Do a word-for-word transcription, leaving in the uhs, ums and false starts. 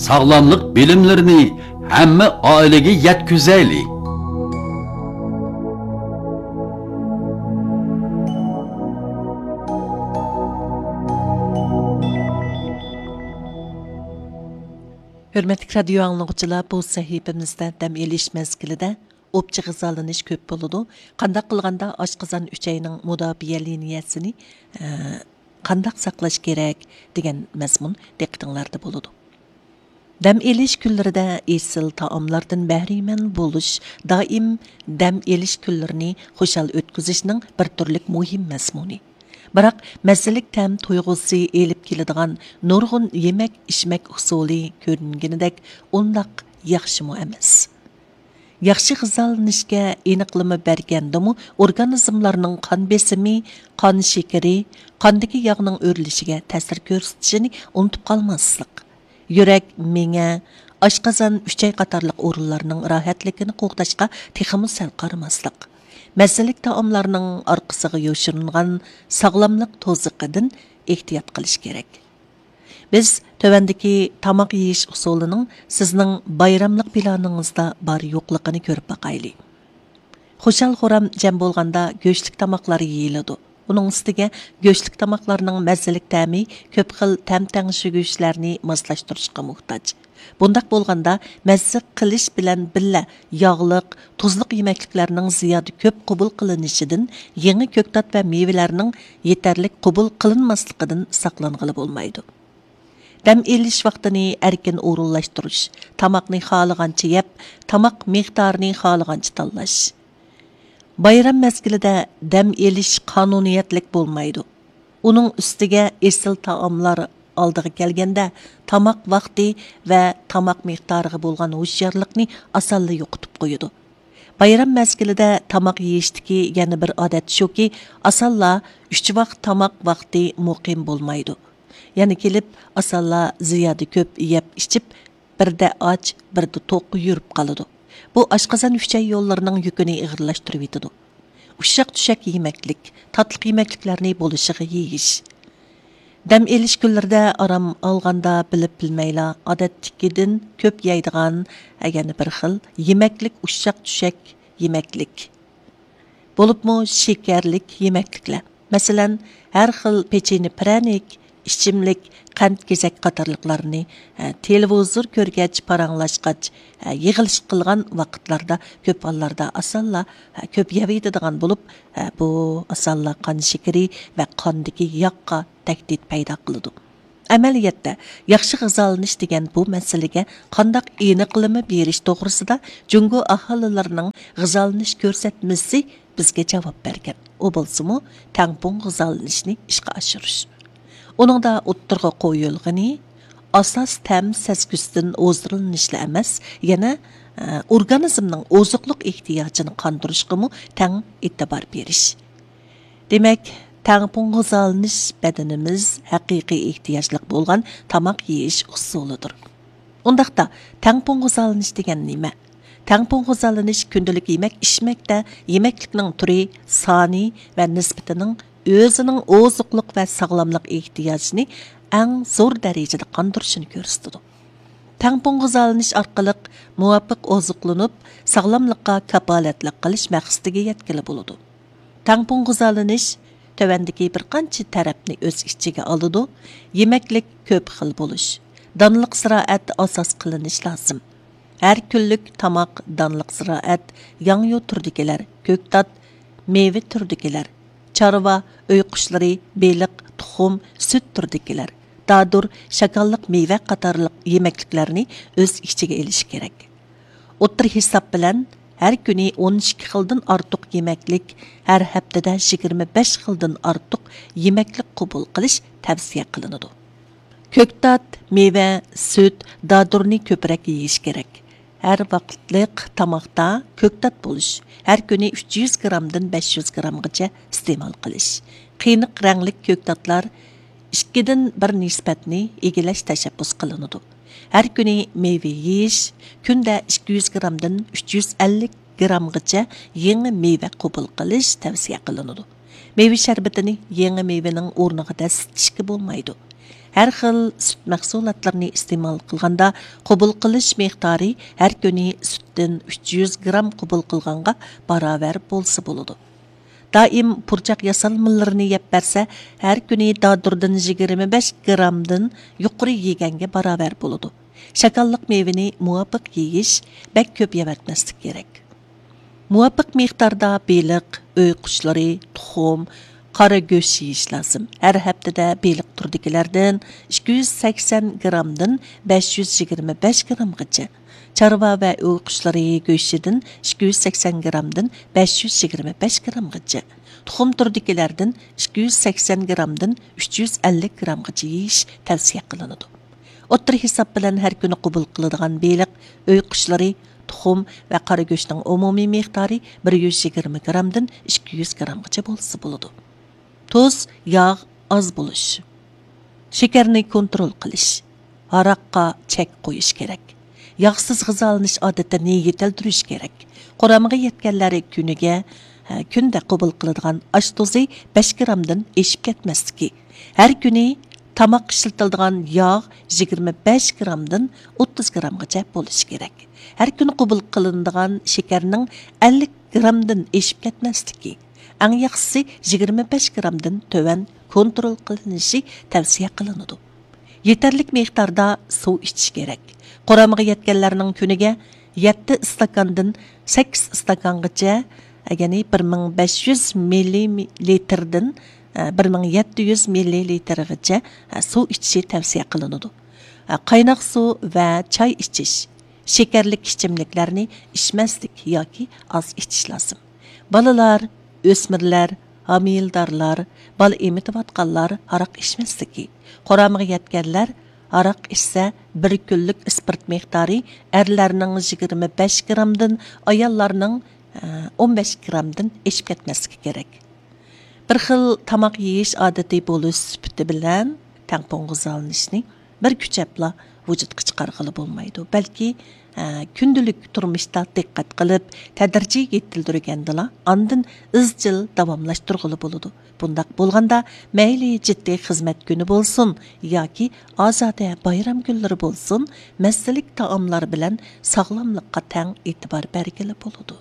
ساغلاملىق بىلىملىرىنى ھەممە ئائىلىگە يەتكۈزەيلى! ھۆرمەتلىك رادىيو ئاڭلىغۇچىلار، بۇ سەھىپىمىزدە دەم ئېلىش مەزگىلىدە ئوپچە غىزالىنىش كۆپ بولىدۇ. قانداق قىلغاندا ئاشقازان ئۈچەينىڭ مۇداپىئە لىنىيەسىنى، ئە، قانداق ساقلاش كېرەك دېگەن مەزمۇن دىققىتىڭلاردا بولىدۇ. دەم ئېلىش كۈنلىرىدە ئېسىل تائاملاردىن بەھرىمەن بولۇش دائىم دەم ئېلىش كۈنلىرىنى خۇشال ئۆتكۈزۈشنىڭ بىر تۈرلۈك مۇھىم مەزمۇنى. بىراق، مەززىلىك تەم تۇيغۇسى ئېلىپ كېلىدىغان نۇرغۇن يېمەك-ئىچمەك ئۇسۇلى كۆرۈنگىنىدەك ئۇنداق ياخشىمۇ ئەمەس. ياخشى غىزالىنىشكە ئېنىقلىما بەرگەندىمۇ، ئورگانىزملارنىڭ قان بېسىمى، قان شېكىرى، قاندىكى ياغنىڭ ئۆرلىشىگە تەسىر كۆرسىتىشىنى ئۇنتۇپ قالماسلىق. يۈرەك، مېڭە، ئاشقازان، ئۈچەي قاتارلىق ئورۇنلارنىڭ راھەتلىكىنى قوغداشقا تېخىمۇ سەل قارىماسلىق. مەززىلىك تائاملارنىڭ ئارقىسىغا يوشۇرۇنغان ساغلاملىق توزىقىدىن ئېھتىيات قىلىش كېرەك. بىز تۆۋەندىكى تاماق يېيىش ئۇسۇلىنىڭ سىزنىڭ بايراملىق پىلانىڭىزدا بار يوقلۇقىنى كۆرۈپ باقايلى. خۇشال-خۇرام جەم بولغاندا گۆشلۈك تاماقلار يېيىلىدۇ. ئۇنىڭ ئۈستىگە گۆشلۈك تاماقلارنىڭ مەززىلىك تەمى كۆپ خىل تەم تەڭشىگۈچلەرنى ماسلاشتۇرۇشقا موھتاج. بۇنداق بولغاندا، مەززە قىلىش بىلەن بىللە ياغلىق، تۇزلۇق يېمەكلىكلەرنىڭ زىيادە كۆپ قوبۇل قىلىنىشىدىن يېڭى كۆكتات ۋە مېۋىلەرنىڭ يېتەرلىك قوبۇل قىلىنماسلىقىدىن ساقلانغىلى بولمايدۇ. دەم ئېلىش ۋاقتىنى ئەركىن ئورۇنلاشتۇرۇش، تاماقنى خالىغانچە يەپ، تاماق مىقدارىنى خالىغانچە تاللاش. بايرام مەزگىلىدە دەم ئېلىش قانۇنىيەتلىك بولمايدۇ. ئۇنىڭ ئۈستىگە ئېسىل تائاملار ئالدىغا كەلگەندە، تاماق ۋاقتى ۋە تاماق مىقدارىغا بولغان ھوشيارلىقنى ئاسانلا يوقىتىپ قويىدۇ. بايرام مەزگىلىدە تاماق يېيىشتىكى يەنە بىر ئادەت شۇكى، ئاسانلا ئۈچ ۋاق تاماق ۋاقتى مۇقىم بولمايدۇ. يەنە كېلىپ، ئاسانلا زىيادە كۆپ يەپ ئىچىپ، بىردە ئاچ، بىردە توق يۈرۈپ قالىدۇ. بۇ ئاشقازان ئۈچەي يوللىرىنىڭ يۈكىنى ئېغىرلاشتۇرۇۋېتىدۇ. ئۇششاق چۈشەك يېمەكلىك، تاتلىق يېمەكلىكلەرنى بولۇشىغا يېيىش. دەم ئېلىش كۈنلىرىدە ئارام ئالغاندا بىلىپ بىلمەيلا، ئادەتتىكىدىن كۆپ يەيدىغان، يەنە بىر خىل يېمەكلىك ئۇششاق چۈشەك يېمەكلىك. بولۇپمۇ شېكەرلىك يېمەكلىكلەر. مەسىلەن، ھەر خىل پېچىنە پىرەنىك، ئىچىملىك، قەنت گېزەك قاتارلىقلارنى، ھە، تېلېۋىزور كۆرگەچ، پاراڭلاشقاچ، ھە، يىغىلىش قىلغان ۋاقىتلاردا كۆپ ھاللاردا ئاسانلا، ھە، كۆپ يەۋېتىدىغان بولۇپ، ھە، بۇ ئاسانلا قان شېكىرى ۋە قاندىكى ياغقا تەھدىت پەيدا قىلىدۇ. ئەمەلىيەتتە، ياخشى غىزالىنىش دېگەن بۇ مەسىلىگە قانداق ئېنىقلىما بېرىش توغرىسىدا جۇڭگو ئاھالىلىرىنىڭ غىزالىنىش كۆرسەتمىسى بىزگە جاۋاب بەرگەن. ئۇ بولسىمۇ تەڭپۇڭ غىزالىنىشنى ئىشقا ئاشۇرۇش. ئۇنىڭدا ئوتتۇرىغا قويۇلغىنى ئاساس تەم سەزگۈسىدىن ھۇزۇرلىنىشلا ئەمەس، يەنە، ئە، ئورگانىزمنىڭ ئوزۇقلۇق ئېھتىياجىنى قاندۇرۇشقىمۇ تەڭ ئېتىبار بېرىش. دېمەك، تەڭپۇڭ غىزالىنىش بەدىنىمىز ھەقىقىي ئېھتىياجلىق بولغان تاماق يېيىش ئۇسۇلىدۇر. ئۇنداقتا، تەڭپۇڭ غىزالىنىش دېگەن نېمە؟ تەڭپۇڭ غىزالىنىش كۈندىلىك يېمەك ئىچمەكتە يېمەكلىكنىڭ تۈرى، سانى ۋە نىسبىتىنىڭ ئۆزىنىڭ ئوزۇقلۇق ۋە ساغلاملىق ئېھتىياجىنى ئەڭ زور دەرىجىدە قاندۇرۇشىنى كۆرسىتىدۇ. تەڭپۇڭ غىزالىنىش ئارقىلىق مۇۋاپىق ئوزۇقلىنىپ، ساغلاملىققا كاپالەتلىك قىلىش مەقسىتىگە يەتكىلى بولىدۇ. تەڭپۇڭ غىزالىنىش تۆۋەندىكى بىر قانچە تەرەپنى ئۆز ئىچىگە ئالىدۇ: يېمەكلىك كۆپ خىل بولۇش، دانلىق زىرائەت ئاساس قىلىنىش لازىم. ھەر كۈنلۈك تاماق دانلىق زىرائەت، ياڭيۇ تۈرىدىكىلەر، كۆكتات، مېۋە تۈرىدىكىلەر، چارۋا، ئۆي قۇشلىرى، بېلىق، تۇخۇم، سۈت تۈرىدىكىلەر، دادۇر، شاكاللىق مېۋە قاتارلىق يېمەكلىكلەرنى ئۆز ئىچىگە ئېلىشى كېرەك. ئوتتۇرا ھېساب بىلەن، ھەر كۈنى ئون ئىككى خىلدىن ئارتۇق يېمەكلىك، ھەر ھەپتىدە يىگىرمە بەش خىلدىن ئارتۇق يېمەكلىك قوبۇل قىلىش تەۋسىيە قىلىنىدۇ. كۆكتات، مېۋە، سۈت، دادۇرنى كۆپرەك يېيىش كېرەك. ھەر ۋاقىتلىق تاماقتا كۆكتات بولۇش، ھەر كۈنى ئۈچ يۈز گرامدىن بەش يۈز گرامغىچە ئىستېمال قىلىش. قېنىق رەڭلىك كۆكتاتلار ئىككىدىن بىر نىسبەتنى ئىگىلەش تەشەببۇس قىلىنىدۇ. ھەر كۈنى مېۋە يېيىش، كۈندە ئىككى يۈز گرامدىن ئۈچ يۈز ئەللىك گرامغىچە يېڭى مېۋە قوبۇل قىلىش تەۋسىيە قىلىنىدۇ. مېۋە شەربىتىنى يېڭى مېۋىنىڭ ئورنىغا دەسسىتىشكە بولمايدۇ. ھەر خىل سۈت مەھسۇلاتلىرىنى ئىستېمال قىلغاندا، قوبۇل قىلىش مىقدارى ھەر كۈنى سۈتتىن ئۈچ يۈز گرام قوبۇل قىلغانغا باراۋەر بولسا بولىدۇ. دائىم پۇرچاق ياسالمىلىرىنى يەپ بەرسە، ھەر كۈنى دادۇردىن يىگىرمە بەش گرامدىن يۇقىرى يېگەنگە باراۋەر بولىدۇ. شاكاللىق مېۋىنى مۇۋاپىق يېيىش، بەك كۆپ يەۋەتمەسلىك كېرەك. مۇۋاپىق مىقداردا بېلىق، ئۆي قۇشلىرى، تۇخۇم، قارا گۆش يېيىش لازىم. ھەر ھەپتىدە بېلىق تۈرىدىكىلەردىن ئىككى يۈز سەكسەن گرامدىن بەش يۈز يىگىرمە بەش گرامغىچە، چارۋا ۋە ئۆي قۇشلىرى گۆشىدىن ئىككى يۈز سەكسەن گرامدىن بەش يۈز يىگىرمە بەش گرامغىچە، تۇخۇم تۈرىدىكىلەردىن ئىككى يۈز سەكسەن گرامدىن ئۈچ يۈز ئەللىك گرامغىچە يېيىش تەۋسىيە قىلىنىدۇ. ئوتتۇرا ھېساب بىلەن ھەر كۈنى قوبۇل قىلىدىغان بېلىق، ئۆي قۇشلىرى، تۇخۇم ۋە قارا گۆشنىڭ ئومۇمىي مىقدارى بىر يۈز يىگىرمە گرامدىن ئىككى يۈز گرامغىچە بولسا بولىدۇ. تۇز، ياغ ئاز بولۇش. شېكەرنى كونترول قىلىش. ھاراققا چەك قويۇش كېرەك. ياغسىز غىزالىنىش ئادىتىنى يېتىلدۈرۈش كېرەك. قۇرامىغا يەتكەنلەر كۈنىگە، ھە، كۈندە قوبۇل قىلىدىغان ئاش تۇزى بەش گرامدىن ئېشىپ كەتمەسلىكى. ھەر كۈنى تاماققا ئىشلىتىلىدىغان ياغ يىگىرمە بەش گرامدىن ئوتتۇز گرامغىچە بولۇشى كېرەك. ھەر كۈنى قوبۇل قىلىنىدىغان شېكەرنىڭ ئەللىك گرامدىن ئېشىپ كەتمەسلىكى، ئەڭ ياخشىسى يىگىرمە بەش گرامدىن تۆۋەن كونترول قىلىنىشى تەۋسىيە قىلىنىدۇ. يېتەرلىك مىقداردا سۇ ئىچىش كېرەك. قۇرامىغا يەتكەنلەرنىڭ كۈنىگە يەتتە ئىستاكاندىن سەككىز ئىستاكانغىچە، يەنى بىر مىڭ بەش يۈز مىللىلىتىردىن بىر مىڭ يەتتە يۈز مىللىلىتىرغىچە سۇ ئىچىشى تەۋسىيە قىلىنىدۇ. قايناق سۇ ۋە چاي ئىچىش، شېكەرلىك ئىچىملىكلەرنى ئىچمەسلىك ياكى ئاز ئىچىش لازىم. بالىلار، ئۆسمۈرلەر، ھامىلىدارلار، بالا ئېمىتىۋاتقانلار ھاراق ئىچمەسلىكى. قۇرامىغا يەتكەنلەر ھاراق ئىچسە، بىر كۈنلۈك ئىسپىرت مىقدارى ئەرلەرنىڭ يىگىرمە بەش گرامدىن، ئاياللارنىڭ، ئە، ئون بەش گرامدىن ئېشىپ كەتمەسلىكى كېرەك. بىر خىل تاماق يېيىش ئادىتى بولۇش سۈپىتى بىلەن تەڭپۇڭ غىزالىنىشنى بىر كۈچەپلا ۋۇجۇدقا چىقارغىلى بولمايدۇ، بەلكى، ھە، كۈندىلىك تۇرمۇشتا دىققەت قىلىپ، تەدرىجىي يېتىلدۈرگەندىلا، ئاندىن ئىزچىل داۋاملاشتۇرغىلى بولىدۇ. بۇنداق بولغاندا، مەيلى جىددىي خىزمەت كۈنى بولسۇن ياكى ئازادە بايرام كۈنلىرى بولسۇن، مەززىلىك تائاملار بىلەن ساغلاملىققا تەڭ ئېتىبار بەرگىلى بولىدۇ.